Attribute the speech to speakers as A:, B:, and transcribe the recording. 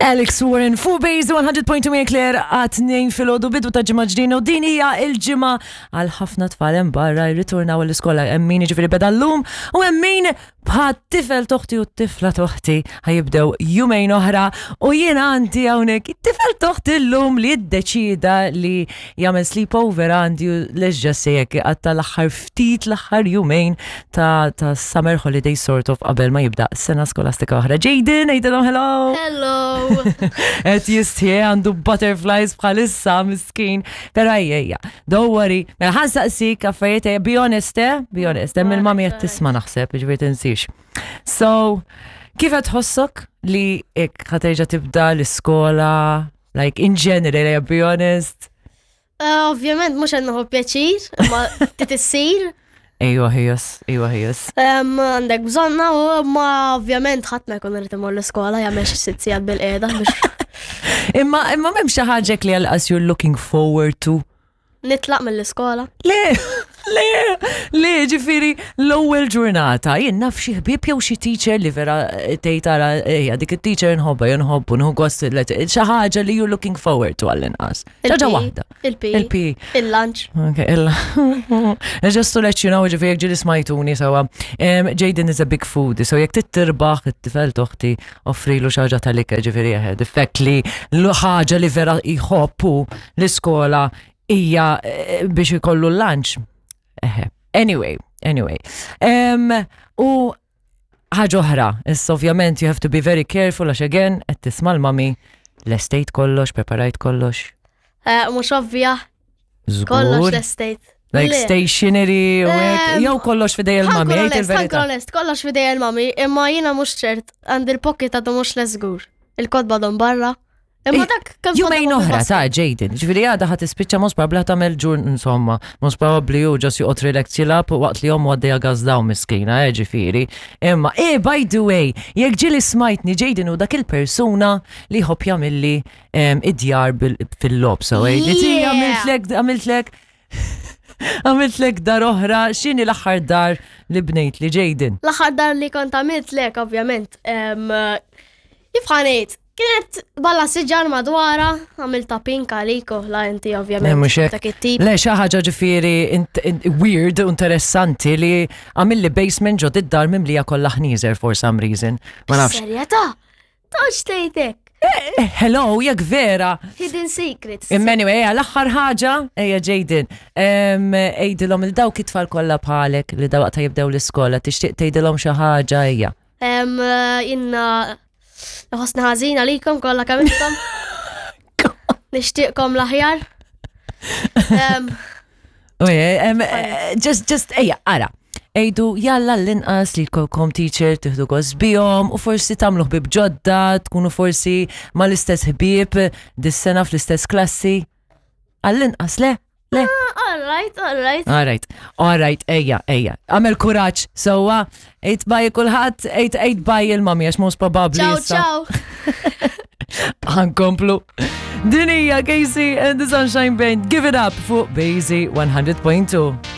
A: Alex Warren fuq Base 100.2 minn Claire għat 2 filgħodu bidu ta' ġimgħa ġdina u din hija l-ġimgħa għal ħafna tfal hemm barra jirritornaw l-iskola hemm min jiġifieri beda llum u hemm min bħat tifel toħti u t-tifla toħti ħajibdew jumejn oħra u jiena għandi hawnhekk it-tifel toħti llum li ddeċida li jagħmel sleepover għandi u leġġa sejek għatta l-aħħar ftit l-aħħar jumejn ta', ta summer holiday sort of qabel ma jibda sena skolastika oħra. Jaden, għidilhom hello!
B: Hello!
A: Et jistħie għandu butterflies bħalissa miskin. Pero ejja, don't worry. Mela ħan saqsik affarijiet, eh, be honest, eh? Be honest, hemm il-mami qed tisma' naħseb, jiġifieri tinsiex. So, kif qed tħossok li ik ħaterġa' tibda l-iskola, like in general, eh, be honest?
B: Eh, ovvjament mhux qed nieħu pjaċir, imma trid issir.
A: Ejwa ħijas, ejwa ħijas.
B: Għandek bżonna u ma ovvjament ħadd ma jkun irid imur l-iskola jagħmel xi sitt sigħat bil-qiegħda biex.
A: Imma imma m'hemm xi ħaġa li għalqas you're looking forward to.
B: Nitlaq mill-iskola.
A: Le, le, le, ġifiri, l-ewwel ġurnata, jien naf xi ħbieb jew xi teacher li vera eh, tgħid ara ejja dik it-teacher nħobbha jew nħobbu nħu gost xi ħaġa li you're looking forward to għall-inqas. Ħaġa waħda.
B: Il-P.
A: Il-P.
B: Il-lunch.
A: Ok, il Just to let you know, ġifiri jek ġili smajtuni sawa. Jaden is a big food, so jek tittirbaħ it-tifel toħti offrilu xaġa tal-ikel ġifiri eħed. Effett li l-ħaġa li vera jħobbu l-iskola hija eh, biex ikollu l-lunch. Eħe. Anyway, anyway. Um, u ħaġa oħra, issa ovvjament you have to be very careful għax again qed tisma' l-mami lestejt kollox, preparajt kollox.
B: Eh, mhux ovvja, kollox lestejt.
A: Like stationery u hekk, jew kollox fidej il-mami,
B: jgħid il-verità. Kollox fidej il-mami, imma jiena mhux ċert, għandi l-pocket għadu mhux lesgur. Il-kotba għadhom barra. Imma dak
A: kemm Jumejn oħra ta' Jaden, ġifieri għada ħadd tispiċċa mhux probabbli ħadd tagħmel ġur insomma, mhux probabbli hu ġas joqgħod relax jilgħab waqt li ommu għaddejja gas dawn miskina, eh ġifieri. Imma eh by the way, jekk ġieli smajtni Jaden hu dak il-persuna li jħobb jagħmilli id-djar fil-lob so eh, li ti għamiltlek għamiltlek għamiltlek dar oħra, x'inhi l-aħħar dar li bnejt li Jaden?
B: L-aħħar dar li kont għamiltlek ovvjament. Kif ħanejt? Kienet balla siġar madwara, għamilta pink għalik u la inti ovvjament.
A: Mhux hekk.
B: Dak it-tip.
A: Le xi ħaġa ġifieri weird u interessanti li għamilli basement ġo id-dar mimlija kollha ħnieżer for some reason. Ma nafx.
B: Serjetà? Tox tgħidek.
A: Eh, eh, hello, jekk vera.
B: Hidden secrets.
A: Imma anyway, ejja l-aħħar ħaġa, ejja Jaden, għidilhom il-dawk it-tfal kollha bħalek li dawaqta jibdew l-iskola, tixtieq tgħidilhom xi ħaġa ejja.
B: Inna nħossni ħażin għalikom kollha kemm intom. Nixtieqkom l-aħjar.
A: Eh, just, just, ejja, ara. Ejdu, jalla l-inqas li jkollkom teacher tiħdu gost bihom u forsi tagħmlu ħbieb ġodda, tkunu forsi mal-istess ħbieb dis-sena fl-istess klassi. Għall-inqas le? Le.
B: Ah, all right, all right.
A: All right, all right, ejja, ejja. Għamel kuraġġ, sewwa, ejt baj kulħadd, ejt ejt baj il-mami għax most probabbli.
B: Ciao, ciao.
A: Ħankomplu. Din hija Casey and the Sunshine Band, give it up fuq Bazy 100.2.